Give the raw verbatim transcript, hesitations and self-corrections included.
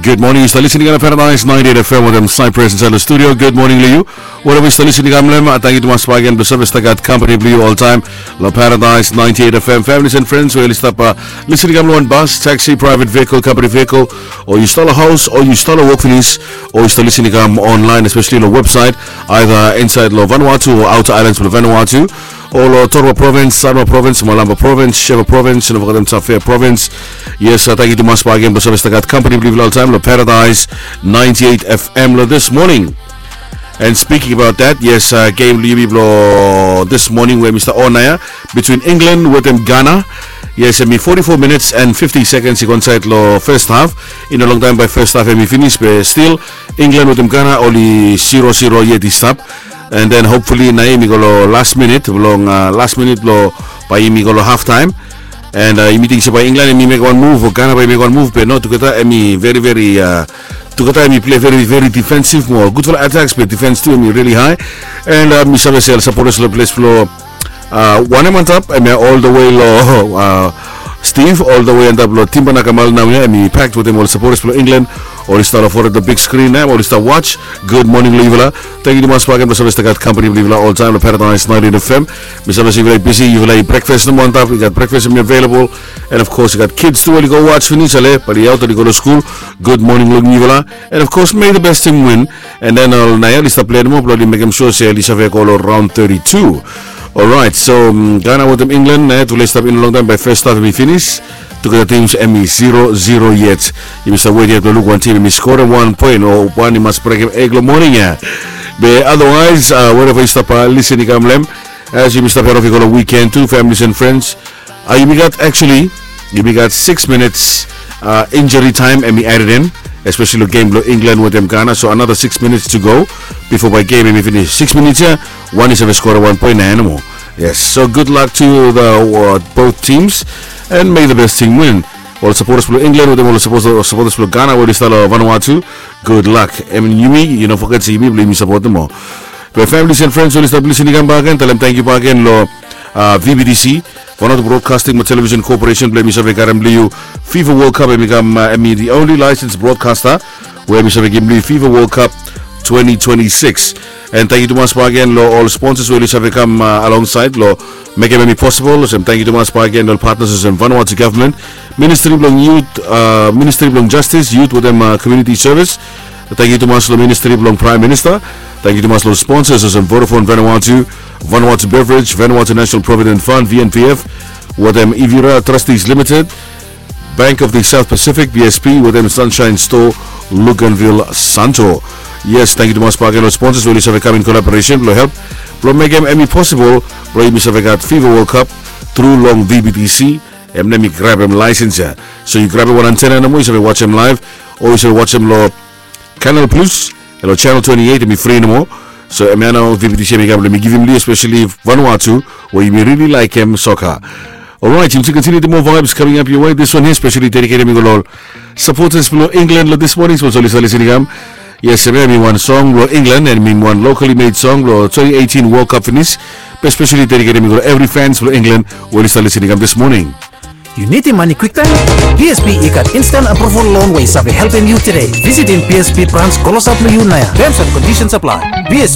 Gud moning, yu stap lisin i kam long Paradise ninety eight F M wetem Cypress insaed long studio. Gud moning long yu. Whatever yu stap lisin i kam long hem, tangkiu tumas bak gen blong save stap gat kampani blong yu oltaem long Paradise ninety eight F M. Families and friends we oli stap lisin i kam long wan bas, taxi, private vehicle, company vehicle, o yu stap long haos, o yu stap long wok finis, o yu stap lisin i kam online, especially long website, either insaed long Vanuatu o outer islands blong Vanuatu, o long Torowa Province, Sanwa Province, Malampa Province, Shefa Province, no fogetem Tafea Province. Yes, tangkiu tumas bak gen blong save stap gat kampani blong yufala oltaem long Paradise ninety eight F M long this morning. And speaking about that, yes, gem blong yumi blong this morning we mi stap on ia, between England wetem Ghana. Yes, hemi forty-four minutes and fifty seconds i go insaed long first half. I no longtaem bae first half hemi finis, be still England wetem Ghana oli zero zero yet i stap. And then hopefully naoia hemi go long last minute blong, last minute blong bae hemi go long half time. And yumi ting se bae England hemi mekem wan move o Ghana bae i mekem wan move, be no, tugeta hemi very very, tugeta hemi plei very very defensive mo. Gudfala attacks be defense tu hemi really high. And mi save se ol sapotas long ples blong wanem antap hemia all the way long Steve, all the way antap long Timba Nakamal naoia, hemi packed wetem ol sapotas blong England. Oli stap long fored long big screen ia, oli stap watch. Gud moning long yufala. Tangkiu tumas bak gen blong save stap gat kampani blong yufala oltaem long Paradise ninety eight F M. Mi save se yufala i bisi, yufala i brekfas nomo antap, i gat brekfas hemi available. And of course i gat kids tu oli go watch finis ale, bae oli aot oli go long skul. Gud moning long yufala. And of course, may the best team win. And then ol naoia oli stap plei nomo blong oli mekem sua se oli save go long raon thirty-two. Alright, so Ghana wetem England naoia tufala i stap i no longtaem bae first half hemi finis. Tugeta teams hemi zero zero yet. Yumi stap wet yet blong luk wan tim hemi skorem wan poen o wan i mas brekem eg long moning ia. Be otherwise, wherever yu stap lisin i kam long hem, as yumi stap head off i go long weekend tu, families and friends, yumi gat actually, yumi gat six minutes injury time hemi added in, especially long gem blong England wetem Ghana. So another six minutes to go bifo bae gem hemi finis. Six minutes ia, wan i save skorem wan poen naoia nomo. Yes, so good luck to the both teams and may the best team win. Ol sapotas blong England wetem ol sapotas blong Ghana we oli stap long Vanuatu, gud lak. Hemi yumi, yu no foget se yumi blong yumi sapotem ol. Be families and friends we oli stap lisin i kam bak gen, talem tangkiu bak gen long V B T C, Vanuatu Broadcasting mo Television Corporation, blong yumi save karem long yu FIFA World Cup. Hemi kam, hemi the only licensed broadcaster we hemi save givim long yu FIFA World Cup twenty twenty-six. And tangkiu tumas bak gen long ol sponsors we oli save kam alongside long mekem hemi possible. Olsem tangkiu tumas bak gen long ol partners olsem Vanuatu Government, Ministry blong Youth, Ministry blong Justice, Youth wetem Community Service. Tangkiu tumas long Ministry blong Prime Minister. Tangkiu tumas long sponsors olsem Vodafone Vanuatu, Vanuatu Beverage, Vanuatu National Provident Fund, V N P F, wetem Evira Trustees Limited, Bank of the South Pacific, B S P, wetem Sunshine Store, Luganville, Santo. Yes, tangkiu tumas bak gen long sponsors we oli save kam in collaboration blong help blong mekem hemi possible blong yumi save gat FIFA World Cup tru long V B T C. Hemia mi grabem license ia. So yu grabem wan antena nomo, yu save wajem live, o yu save wajem long Canal Plus, long channel twenty-eight, hemi fri nomo. So hemia nao V B T C hemi kam blong mi givim long yu, especially Vanuatu, we yumi really laekem soka. Alright, yumi kontiniu, the more vibes coming up your way. This one here specially dedicated mi go long ol supporters blong England long this morning, sapos oli stap lisin i kam. Yes, hemia hemi wan song blong England, and hemi wan locally made song blong twenty eighteen World Cup finis. Be specially dedicated mi go long evri fans blong England we oli stap lisin i kam this morning. Yu nidim mane kwiktaem? B S P i gat instant approval loan we i save helpem yu tede. Visitim B S P brans klosap long yu naoia. Terms and conditions apply. B S P.